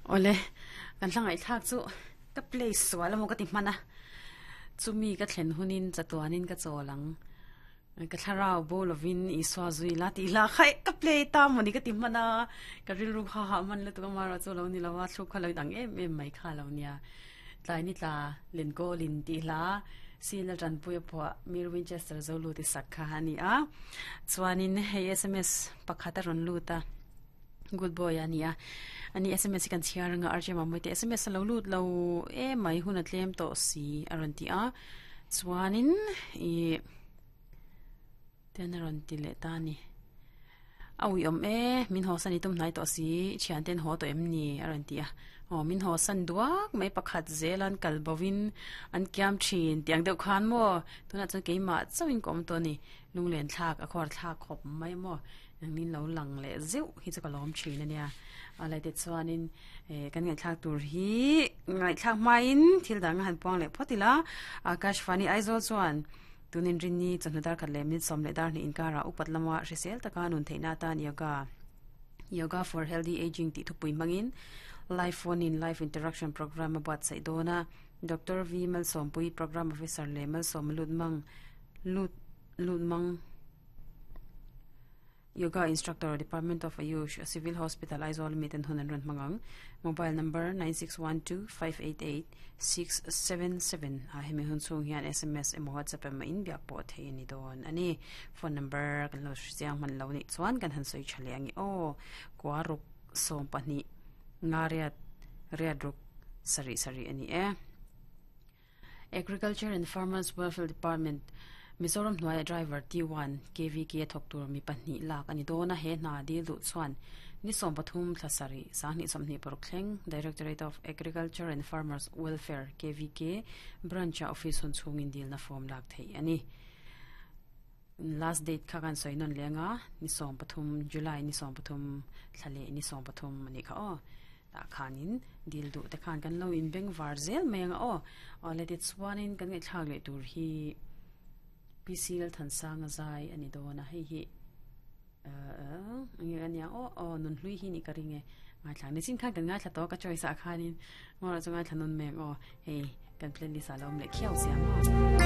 Awle, kan hla ngaihthlak chu ka play sual emaw ka ti hman a, chumi ka thlen hunin chatuanin ka chawl ang. Ka thlarau bo lovin Isua zui la tih hla kha ka play ta mawni ka ti hman a, ka rilru kha hah hman lutuk a marawh chu lo ni lo a, thluk kha lo inang em em mai kha lo nia. Tlai ni tla Lenkawlin tih hla Sina Tanpuia phuah Mir Winchester Zolu ti sak kha a ni a, chuanin hei sms pakhat a rawn lut a. Good boy a nia. Ani sms hi kan chhiar anga RJ Mamawii te sms a lo lut lo emai hun a tlem tawh si a rawn ti a. Chuanin ih ten a rawn ti leh ta a ni. A ui awm e, min haw san i tum hnai tawh si, i thian ten haw tawh em ni a rawn ti a. Aw min haw san duak mai pakhat zel an kal bo in an kiam thin tih ang deuh khan maw tunah chuan keimah chauhin ka awm tawh a ni. Lunglen thlak a khuar thlak khawp mai maw. Engin lo lang leh zeuh hi chu ka lawm thin a nia. A lai te chuanin eh kan ngaihthlak tur hi ngaihthlak hmain thil dang a han puang leh phawt ila. Akashvani Aizawl chuan tunin rinni chawhnu dar khat leh minute sawm leh dar hnih inkarah upat lama hrisel taka nun theihna atan yoga Yoga for Healthy Aging tih thupui hmangin live phone in live interaction program a buatsaih dawn a. Doctor V Malsawmpui Program Officer leh Malsawma Lutmang Lut Lutmang Yoga Instructor, Department of Ayush, Civil Hospital, Aizawl mi ten hun an rawn hmang ang. Mobile number 9612588677 ah hemi hun chhung hian sms emaw WhatsApp emaw in biak pawh theih a ni dawn a ni. Phone number kan lo hre chiang hman lo nih chuan kan han sawi tha leh ang i aw. Kua ruk 12 nga riat riat ruk sarih sarih a ni e. Agriculture and Farmers Welfare Department, Mizoram hnuaia driver T1, KVK a thawk tur mi pahnih lak a ni dawn a, he hna dil duh chuan ni 13 thla sarih, 20 26 thleng Directorate of Agriculture and Farmers Welfare, KVK, Branch-a office hun chhungin dilna form lak theih a ni. Last date kha kan sawi nawn leng a, ni 13 July ni 13 thla leh ni 13 a nih kha aw. Tah khanin dil duh te khan kan lo inbeng var zel mai ang a aw. Awle tichuanin kan ngaihthlak leh tur hi PC Lalthansanga zai a ni dawn a, hei hi uh enge a nia aw aw nunhlui hi nih ka ring e. Ngaithla nichin khan kan ngaithla tawh ka choice ah khanin ngawrah chu ngaithla nawn mai ang aw hei kan playlist ah lo awm leh khiau sia maw.